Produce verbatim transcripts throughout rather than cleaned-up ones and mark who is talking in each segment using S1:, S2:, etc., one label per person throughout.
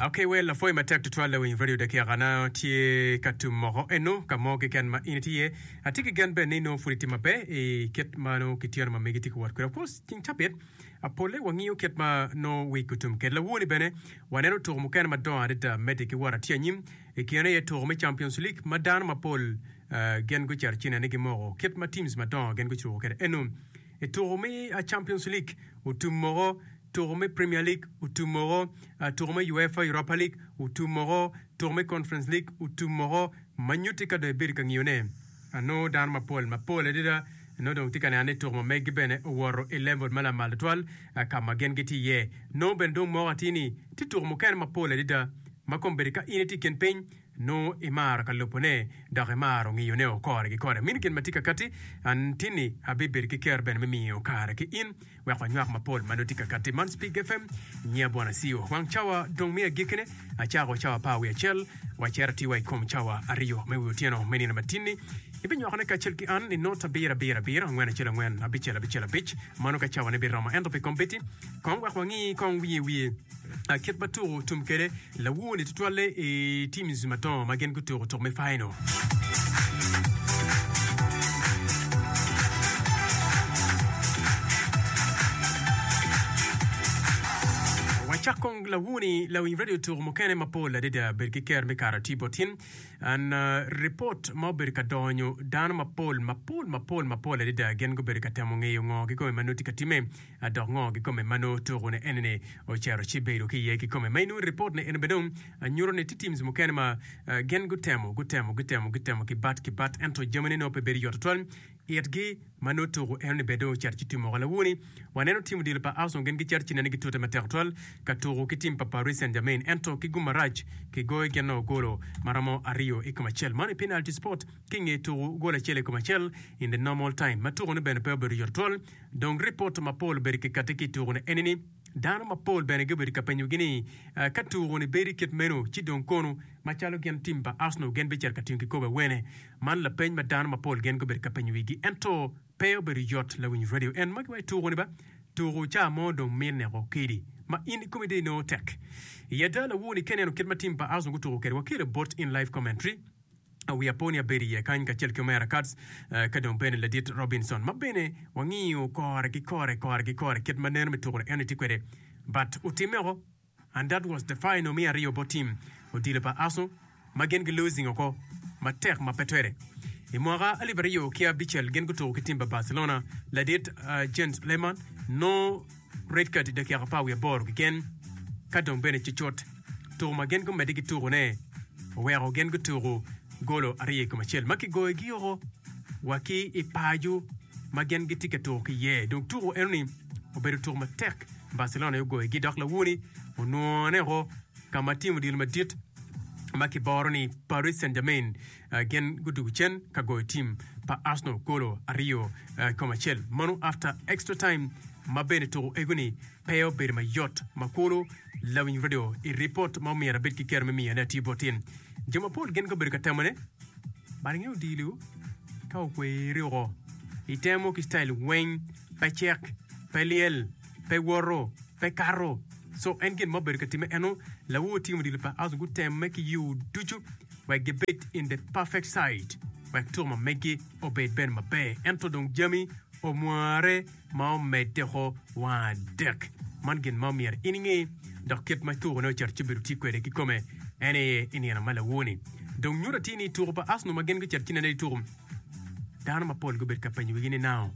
S1: Okay, well, apwoyo matek tutwal lawiny radio dakika na tye ka tum moko eno ka mo keken ma in itye. Atye ki gen bene ni nongo pud itye maber i kit ma nongo ki tyeno ma megi tye ka wot kwede. Of course, ceng cabit pole wangiyo kit ma nongo week otum kwede. Lawoni bene waneno tuko mukene madongo adada medde ki wot atye anyim. I kine aye tuko me Champions League ma dano mapol uh, gin gucito ci nene gimoko kit ma teams madongo gin gucuko kwede eno. I tuko me uh, Champions League otum moko, tuko me Premier League otum moko, uh, tuko me UEFA Europa League otum moko, tuko me Conference League otum moko, ma nyutti ka dong ibedo ka ngiyone. Anongo dano mapol mapol adada nongo dong tye ka neno ni tuko ma meggi bene owoto i level ma lamal tutwal uh, ka ma gin gitye iye. Nongo bene dong moko atir ni tye tuko mukene mapol adada ma kombeddi ka in itye i kin piny nongo imaro ka lubone dok imaro ngiyone o kore ki kore. Mino gin ma tye ka kati an tini abibedo ki kero bene me miyo kare ki in wek wanywak mapol ma nongo tye ka kati. Man Speak F M nyiya Bwana Siyo. Wang cawa dong me agikkine acako cawa apar wiye acel wacito atiwa i kom cawa aryo me wi otyeno me nino matinni. Ibinywakone kacel ki an i not abiro abiro abiro angwen acel angwen abicel abicel abic mano ka cawane biromo. Ento pi kombeddi kong wek wangi kong wiye wiye kit ma tuko tum kwede lawoni tutwalle i teams madongo ma gin gutuko tuko me final. Wacak kong lawoni lawiny radio tuko mukene mapol adada bed ki ker me karo tye bot in. An ripot ma obedo ka donyo dano mapol mapol mapol mapol adada gin gubedo ka temo ngeyo ngo kikome ma nongo tye ka timme dok ngo kikome ma nongo tuko ne enini ocito ci bedo ki iye kikome. Ma inongo ripot ne eni bene dong nyuto ni tye teams mukene ma gin gutemo gutemo gutemo gutemo ki bat ki bat ento jamine nongo pe bedo yot tutwal itgi ma nongo tuko enoni bene dong ocito ci timo. Lawoni waneno tim odilo pa Arsenal gin gicito ci nene gitute matek tutwal ka tuko ki tim pa Paris Saint-Germain ento ki gum marac kigoyo gin nongo golo maromo aryo i kom acel. Mano i penalty spot ki nge tuko gol acel i kom acel in the normal time ma tuko ne bene pe obedo yot tutwal. Dong ripot mapol obedo kikati ki i tuko ne enini. Dano mapol bene gubedo ka penyogi ni ka tuko ni bedo kit meno ci dong kono macalo gin tim pa Arsenal gin bicito ka tingo kikopo awene. Man lapeny ma dano mapol gin gubedo ka penyo wigi ento pe obedo yot lawiny radio en ma giwaco tuko ni ba tuko ca mo dong mineko kedi ma in ikomi dong inongo tek. I ada lawoni ka ineno kit ma tim pa Arsenal gutuko kwede wakelo bot in live commentary. Wiya po ni abedo iye kany kacel ki omera Katz ka dong bene ladit Robinson ma bene wangiyo kore ki kore kore ki kore kit ma neno me tuko eno tye kwede but otimme oko and that was the final me aryo bot team odilo pa Arsenal ma gin gi losing oko matek ma pe twere. I mwaka alip aryo ki abicel gin gutuko ki team pa Barcelona ladit uh, Jens Lehmann no red card i dakika apar wiye aboro keken ka dong bene cucut tuko ma gin gumedde ki tukone oweko gin gutuko golo aryo i kom acel ma kigoyogi oko wa ki i paco ma gin gitye ka tuko ki iye. Dong tuko enoni obedo tuko matek Barcelona aye ogoyogi dok lawoni onwone oko ka ma tim odilo madit ma kiboro ni Paris Saint-Germain gin gudugo cen ka goyo tim pa Arsenal golo aryo i kom acel. Mano after extra time ma bene tuko ego-ni pe obedo mayot ma kulu lawiny radio i ripot ma omyero abed ki kero me miyone atir bot in. Jo mapol gin gubedo ka temone but inge odilo ka okweri oko itemo ki style weng pe cek pe lyel pe woto pe kato so en gin ma obedo ka timme eno lawor tim odilo pa Arsenal gutemme ki yo ducu wek gibed in the perfect side wek tuko ma meggi obed bene maber ento dong jami omware ma omedde oko wang adek. Man gin ma omyero in inge dok kit ma tukone ocito ci obedo tye kwede kikome en aye i nino ma lawoni. Dong nyuto atir ni tuko pa Arsenal ma gin gucito ci nene i tuko dano mapol gubedo ka penyo wigi ni nao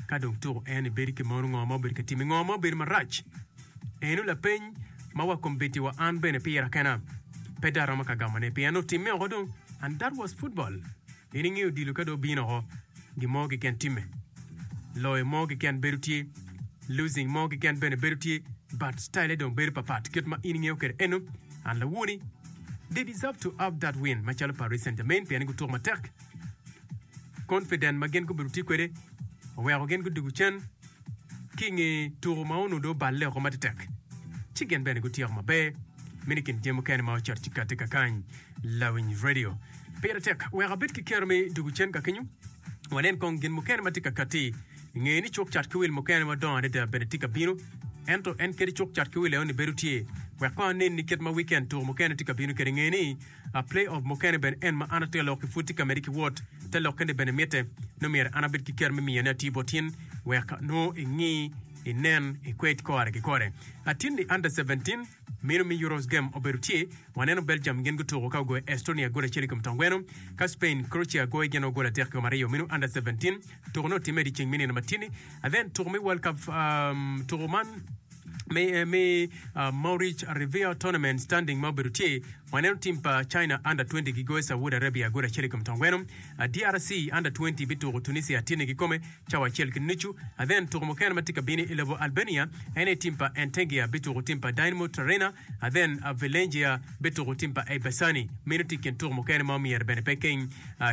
S1: ka dong tuko en ibedo ki mono ngo ma obedo ka time ngo ma obedo marac. Eno lapeny ma wa kombeddi wa an bene pira kena pe dong aromo ka gamone pien otimme oko dong and that was football. In ingeyo odilo ka dong obino oko, gin mo keken timme. Loyo mo keken bedo tye, losing mo keken bene bedo tye, but style dong bedo papat kit ma in ingeyo kwede eno. And lawoni, they deserve to have that win macalo Paris Saint-Germain pien ni gutuko matek. Confident ma gin gubedo tye kwede oweko gin gudugo cen ki i nge tuko ma onongo dong oballe oko matetek, ci gin bene gutyeko maber. Meno i kin jami mukene ma ocito ci kati kakany. Lawiny Radio. Pire tek wek abed ki kero me dugo cen ka kenyo. Wanen kong gin mukene ma tye ka katti. Nge ni cuk cat ki wil mukene madongo adada bene tye ka bino. Ento en kadi cuk cat ki wil enoni bedo tye, Wek kong anen ni kit ma weekend tuko mukene tye ka bino kwede nge ni play off mukene bene en ma an atye ka lok ki pud tye ka medde ki wot te lokke ni bene mitte nongo myero an abed ki kero me miyone atir bot in wek nongo ingi inen ikwed kore ki kore. Atin ni under seventeen meno me Euros game obedo tye waneno Belgium gin gutuko ka ogoyo Estonia gol acel i kom tongweno ka Spain Croatia goyo gin gol adek i kom aryo meno under seventeen tuko ne otimme dyeceng me nino matini then tuko me World Cup tuko man me me Maurice Riviere Tournament standing ma obedo tye waneno tim pa China under twenty gigoyo Saudi Arabia gol acel i kom tongweno D R C under twenty bituko Tunisia tini kikome cawa acel ki nucu then tuko mukene ma tye ka bino i lobo Albania en aye tim pa Entengia bituko tim pa Dynamo Tirana then Velengia bituko tim pa Ebasani meno tye i kin tuko mukene ma omyero bene pe keng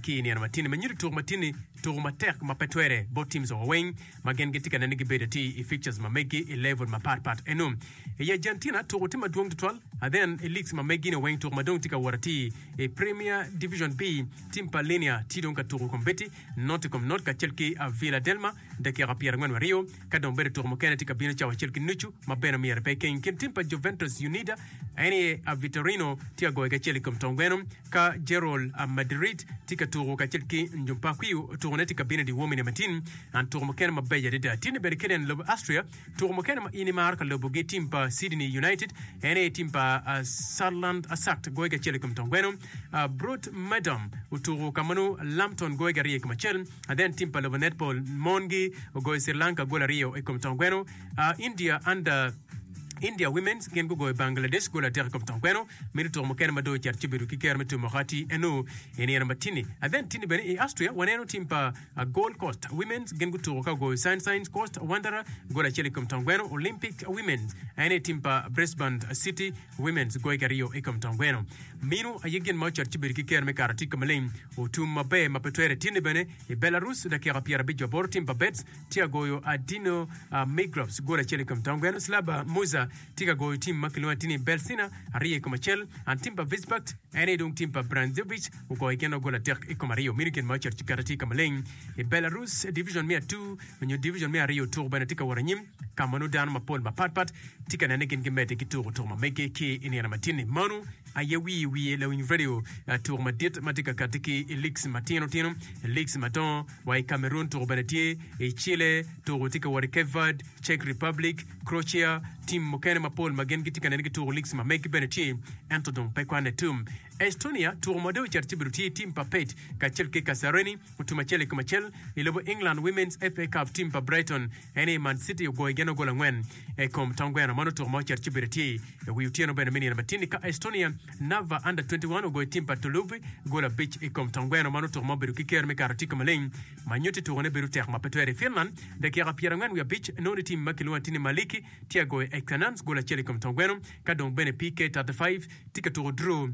S1: ki i nino matini ma nyuto tuko matini tuko matek ma pe twere bot teams wa weng ma gin gitye ka nene gibedo atir i fixtures ma megi i level mapat pat eno. I Argentina tuko tye madwong tutwal then i leagues ma megi ni weng tuko madong tye ka wot atir i Premier Division B team pa Linea tye dong ka tuko kombeddi not i kom not kacel ki Villa Delma dakika pyerangwen wa aryo ka dong bedo tuko mukene tye ka bino cawa acel ki nucu ma bene myero pe keng kin team pa Juventus Unida en aye Vitorino tye ka goyo kacel i kom tongweno ka Gerald Madrid tye ka tuko kacel ki Njumpakwiu tukone tye ka bino i dyewor mine matin an tuko mukene mabeco adada tye ni bene keden lobo Austria tuko mukene ma in imaro ka lobogi team pa Sydney United en aye team pa uh, Saarland Asakt goyo kacel i kom tongweno uh, Brot Madam otuko ka ma nongo Lambton goyo ki aryo i kom acel and then team pa lobo netball mongi ogoyo Sri Lanka gol aryo i kom tongweno uh, India under India Women's gin gugoyo Bangladesh gol adek i kom tongweno meno tuko mukene ma dong ocito ci obedo ki kero me tumo kati eno i nino matini and then tini bene i Austria waneno team pa uh, Gold Coast Women's gin gutuko ka ogoyo Sunshine Coast Wanderer gol acel i kom tongweno Olympic Women's en aye team pa Brisbane City Women's goyo ki aryo i kom tongweno meno aye gin ma ocito ci obedo ki kero me kato tye ka maleng otum maber ma pe twere tini bene i Belarus dakika pyerabic aboro team pa Bets tye ka goyo Adino uh, Migrovs gol acel i kom tongweno Slaba Musa tye ka goyo tim ma kilwongo ni Belsina aryo i kom acel and tim pa Visbakt en aye dong tim pa Brandzevich ogoyo gin gol adek i kom aryo meno gin ma ocito ci kato tye ka maleng i Belarus division me atu nyo division me aryo tuko bene tye ka wot anyim ka ma nongo dano mapol mapatpat tye ka nene gin gimedde ki tuko tuko ma mege ki i nino matini mano aye wiye wiye lawiny radio tuko madit ma tye ka kati ki i leagues matino tino leagues madongo wa i Cameroon tuko bene tye i Chile tuko tye ka wot i Cape Verde Czech Republic Croatia tim mukene mapol ma gin gitye ka nene gituko leagues ma megi bene tye ento dong pe kwane tum Estonia tuko ma dong ocito ci bedo tye tim pa Pet kacel ki Kasareni otum acel i kom acel i lobo England Women's F A Cup tim pa Brighton en aye Man City ogoyo gin gol angwen i kom tongweno mano tuko ma ocito ci bedo tye i wi otyeno bene me nino matini ka Estonia Narva under twenty-one ogoyo tim pa Toluvi gol abic i kom tongweno mano tuko ma obedo ki ker me kato tye ka maleng ma nyutti tuko ne bedo tek ma pe twere i Finland dakika pyerangwen wi abic nongo ni tim ma kilwongo tye ni Maliki tye agoyo Ektanans gol acel i kom tongweno ka dong bene P K thirty-five tye ka tuko draw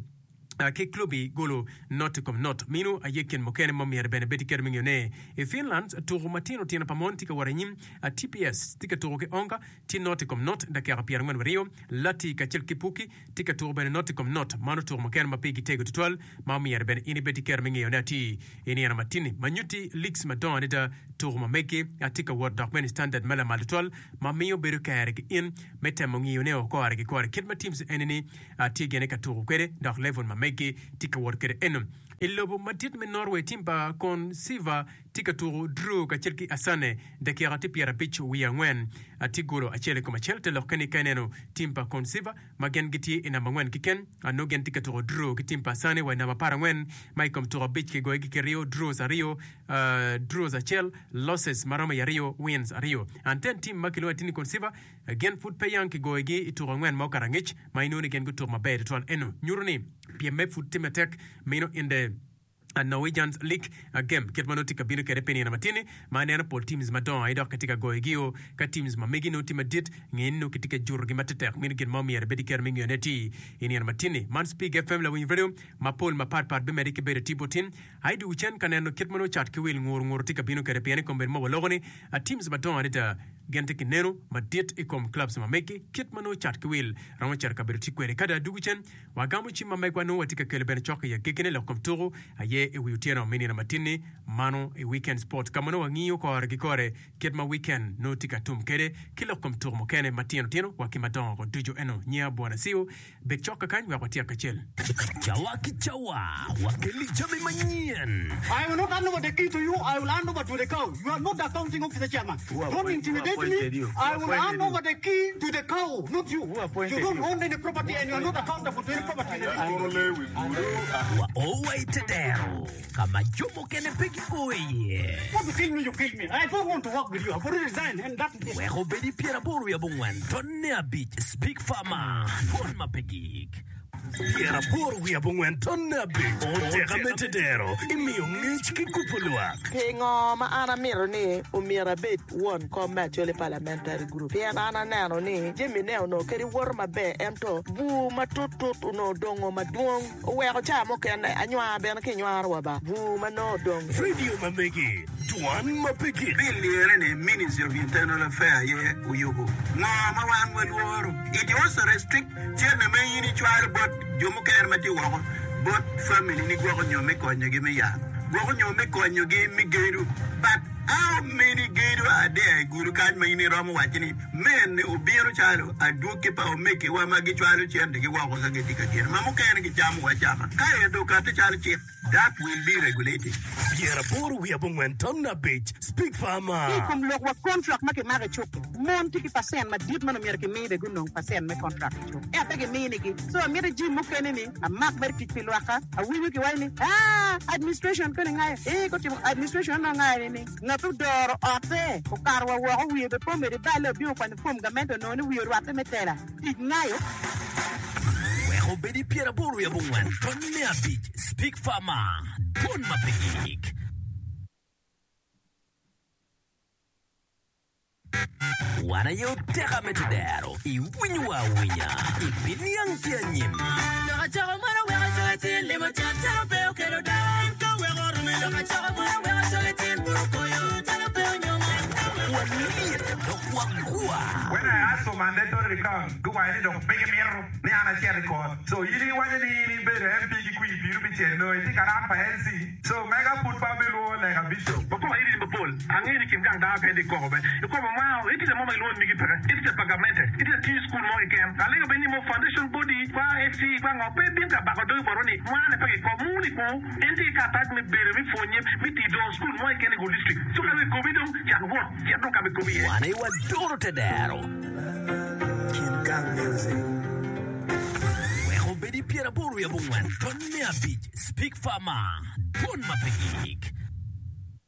S1: ki klubi golo not i kom not mino aye kin mukene ma myero bene bed kero me ngeyone i Finland tuko matino tino pa mon tye ka wot anyim T P S tye ka tuko ki Onga tye not i kom not dakika pyerangwen wi aryo Lati kacel ki Puki tye ka tuko bene not i kom not mano tuko mukene ma pigi tego tutwal ma myero bene in ibed kero me ngeyone ati i nino matini ma nyutti leagues madongo adada tuko ma megi tye ka wot dok bene standard ma lamal tutwal ma miyo bedo kere ki in me temo ngiyone o kore ki kore kit ma teams enini tye gene ka tuko kwede dok level ma megi tye ka wot kwede eno i lobo madit me Norway tim pa Konsiva tye ka tuko draw kacel ki Asane dakika tye pyerabic wiye angwen tye golo acel i kom acel te lokke ni ka ineno tim pa Konsiva ma gin gitye i namba angwen keken nongo gin tye ka tuko draw ki tim pa Asane wa i namba apar angwen ma i kom tuko abic kigoyogi ki aryo draws aryo uh, draws acel losses maromo i aryo wins aryo and then tim ma kilwongo ni Konsiva gin pud pe yang kigoyogi i tuko angwen ma okato angec ma inongo ni gin gutuko maber tutwal eno nyuto ni pyemme pud tye matek meno in the Norwegian League game kit ma nongo tye ka bino kwede pi nino matini ma ineno pol teams madongo aye dok kitye ka goyogi o ka teams ma megi nongo tye madit nge ni nongo kitye ka jurogi matetek meno gin ma omyero ibed kero me ngeyone ti i nino matini man Speak F M lawiny radio mapol mapatpat bimedde ki bedo tye botin ai dugu cen ka neno kit ma nongo cat ki wil nguru nguru tye ka bino kwede pien i kom bedo ma waloko ni teams madongo adada Gin tye ki neno madit i kom clubs ma megi kit ma nongo cat ki wil romo cito kabedo tye kwede. Ka dong adwogo cen, wagamo cim ma megwa nongo watye ka kelo bene cok i agekkine lok kom tuku aye i wi otyeno me nino matin-ni mano i Weekend Sport ka ma nongo wangiyo kore ki kore kit ma weekend nongo tye ka tum kwede ki lok kom tuku mukene matino tino wa ki madongo ko ducu. Eno nyinga Bwana Siu. Bed cok kakany wek watyek kacel.
S2: Cawa ki cawa, wakeli jami manyen.
S3: I will not hand over the key to you, I will hand over to the cow. You are not the accounting officer chairman. Don't intimidate me, I will hand over the key to the cow, not you. You don't own any property and you are not accountable to any property in the district.
S2: Wa o wa i te dero ka ma jo mukene pe gio iye.
S3: Want to kill me, you kill me. I don't want to work with you. I've already resigned and that is it.
S2: Wek obed i pyeraboro wiye abongwen tonne abic Speak Farmer, Dwon ma pe gik. Pyeraboro wiye abongwen tonne abic Oteka me tedero imiyo ngec ki kubo lwak.
S4: Pingo ma an amito ni omyero abed won kom me Acholi Parliamentary Group? Pien an aneno ni jami ne onongo kadi woto maber ento bur matut tut onongo odongo madwong oweko ca mukene anywar bene ki nywaro wa ba bur ma nongo odong.
S2: Radio ma megi, dwan ma pe gik.
S5: Bill lire ni Ministry of Internal Affair aye oyubo. Ngo ma wan walworo? It also restrict cente ma in icwalo bot jo mukene ma tye woko bot family ni gwoko nyo me konyogi me yat, gwoko nyo me konyogi me gedo. But how many gedo are there i gudo kany ma in iromo waco ni mene obino calo adwogi pa omegiwa ma gicwalo centegi woko ka gitye ka gedo ma mukene gicamo acama ka ento okati calo cik? That will be regulated.
S2: Pyeraboro wiye abongwen ton abic Speak Farmer.
S6: Ki i kom lok wa kontrak ma kimako i cuk-ki, mon tye ki pacent madit ma nongo myero kimi be gunong pacent me kontrak i cuk ento pe giminigi. So amito jim mukene ni amak mere tic pi lwakka. Awinyo kiwaco ni aa administration koni ngayo ee gutimo administration onongo ngayo ni ni ngat odoro otte okato wa woko wiye be pe omedo iballe obino okwanyo form gamente onongo ni wiye orwatte me tela tic ngayo.
S2: Wek obed i pyeraboro wiye abongwen tonne abic Speak Farmer, Dwon ma pe gik. Wan aye oteka me tedero, iwinyowa awinya, ibiniang ki anyim. Walyet dok wagwa.
S7: When I ask for mandatory recount, guwaco ni dong pe gimito ni an acit i kot. So in iwaco ni in ibedo M P ki kwir piru pi cel nongo itye ka ran pa L C. So mega pud pe abilwongo lega bishop.
S8: Wakoko iri ni mapol. Angeyo ni kin gang dano kene tye koko be. I kwo pa mwao, itye mo ma gilwongo ni migi peke. Itye pa gamente. Itye tiyo i cukul mo keken. Alego bene ni mo foundation body kwa S C kwa ngo pe bin ka bako dogi botwa ni mwane pe kiko muni ku. En tye ki karatac me bedo me pwonye me tiyo dongo cukul mo keken i Gulu district. So ka dong ikobi dong cak wot cit dong ka ma ikobi iye.
S2: Wan aye wadoro tedero. Wek obed i pyeraboro wiye abongwen tonne abic Speak Farmer, Dwon ma pe gik.